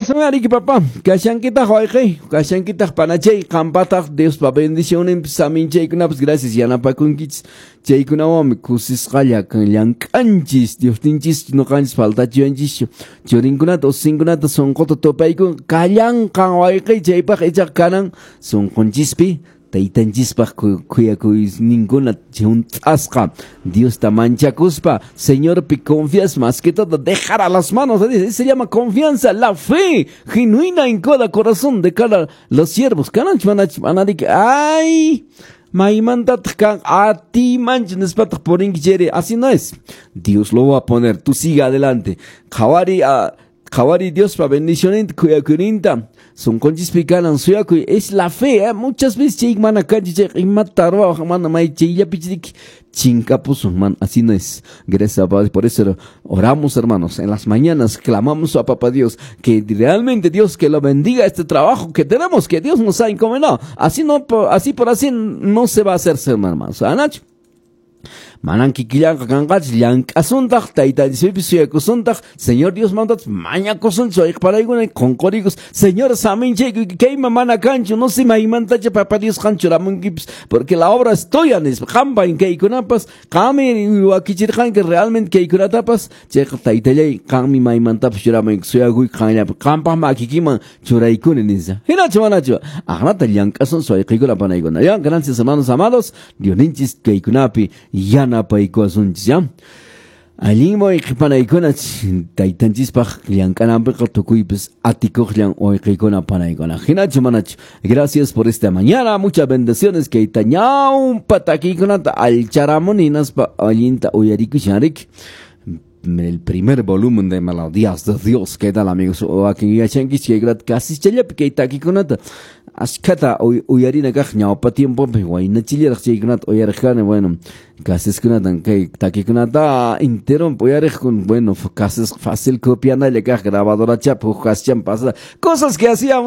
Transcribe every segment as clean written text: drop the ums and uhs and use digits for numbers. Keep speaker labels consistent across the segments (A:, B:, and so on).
A: Kashan papá, kashankitaq wayqi, kashankitaq panachay, qampataq Diospa bendicionninpis saminchaykunapas gracias yanapakunkichis. Chaykunawanmi kusisqalla llank'anchis, Diosninchis ñuqanchis faltachiwanchischu. Churinkunata ususinkunata sunquta tupaykun kallanqan wayqi chaypaq ichaqa kanan sunqunchispi taytanchispaq khuyakuyninkuna hunt'asqa Diosta manchakuspa Señorpi confias más que todo dejar a las manos de Dios. Se llama confianza, la fe genuina en cada corazón de cada los siervos. Kananch manach manariki ay maymantataq kan atimanch nispataq purinki chayri así no es. Dios lo va a poner, tú sigue adelante. Qhawari a qhawari Diospa bendicioninta khuyakuyninta sunqunchispi kanan suyakuy es la fe, ¿eh? Muchas veces chay mana kanchis chayqa imata ruwawaq mana may chayllapichiki chinkapusun man, así no es. Gracias a Dios, por eso oramos, hermanos, en las mañanas clamamos a Papá Dios que realmente Dios que lo bendiga este trabajo que tenemos, que Dios nos ha encomendado. Así no, así por así no se va a hacer, hermanos. Anacho. Manan kikillanqa kanqachis llank'asuntaq taytanchispi suyakusuntaq Señor Dios mandat mañakusunchis wayqparaykuna qunqurikus Señor saminchayku kayman mana kanchu no sé maymantacha Papá Dios qan churamunkipis porque la obra es tuya nispa qampa kaykunapas qanmi wakichirqanki realmente kaykunatapas chayqa taytallay qanmi maymantapas churamunki suyakuy qanllapi qampaq makikiman churaykuni nispa hinachu manachu aqnata llank'asunchis wayqiykuna panaykuna ya. Gracias, hermanos amados. Diosninchis kaykunapi yanapaykuwasunchis ya. Allinmi wayqipanaykuna taytanchispaq llank'ananpiqa tukuypis atikuqllan wayqiykuna panaykuna hinachu manachu. Gracias por esta mañana, muchas bendiciones. Kayta ñawpa takiykunata allcharamuni hinaspa allinta uyarikushan riki el primer volumen de Melodías de Dios. ¿Qué tal, amigos? Wakin yachankichis chaykunata kasichallapi kay takikunata ashkhata uyarina kaq ñawpa tiempopi waynachillaraq chaykunata uyariq kani. Bueno, kasiskunatan kay takikunata enteronpi uyariqkun. Bueno, kasis fácil copianalla kaq grabadora chap huk kasichaman pasada cosas que hacían.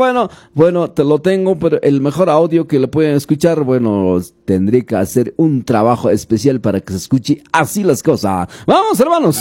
A: Bueno, te lo tengo, pero el mejor audio que lo pueden escuchar, bueno, tendré que hacer un trabajo especial para que se escuche así las cosas. Vamos, hermanos.